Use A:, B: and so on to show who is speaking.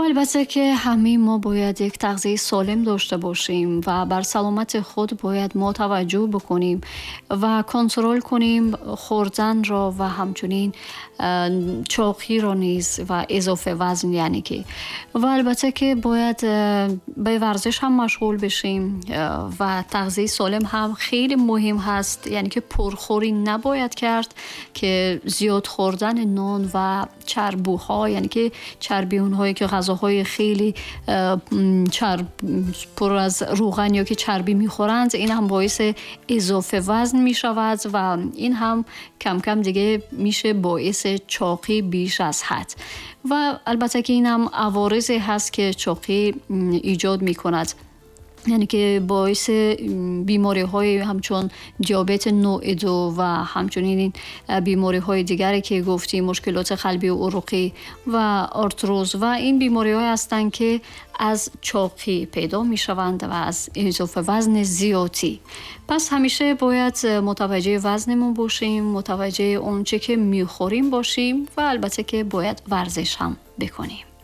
A: Албатта ки ҳамаи мо бояд як тағзияи солим дошта бошем ва бар саломати худ бояд мо таваҷҷӯҳ бикунем ва контрол кунем хӯрданро ва ҳамчунин чоқиро низ ва изофа вазн, яъне ки. Ва албатта ки бояд ба варзиш ҳам машғул бишем ва тағзияи солим ҳам хеле муҳим ҳаст, яъне ки пурхӯрӣ набояд кард, ки зиёд хӯрдани нон ва чарбуҳо, яъне ки чарби онҳое ки ғазоҳои хеле чарб, пур аз равған ё ки чарбӣ мехӯранд, ин ҳам боиси изофа вазн мешавад ва ин ҳам кам-кам диге мише боиси чоқӣ беш аз ҳад. Ва албатта ки ин ҳам аворизе ҳаст ки чоқӣ эҷод мекунад, яъне ки боиси бемориҳои ҳамчун диабети навъи ду ва ҳамчунин бемориҳои дигаре ки гуфтем, мушкилоти қалбию уруқӣ ва артроз, ва ин бемориҳое ҳастанд ки аз чоқӣ пайдо мешаванд ва аз изофа вазни зиёдӣ. Пас ҳамеша бояд мутаваҷҷеҳи вазнамон бошем, мутаваҷҷеҳи он чӣ ки мехӯрем бошем ва албатта ки бояд варзиш ҳам бикунем.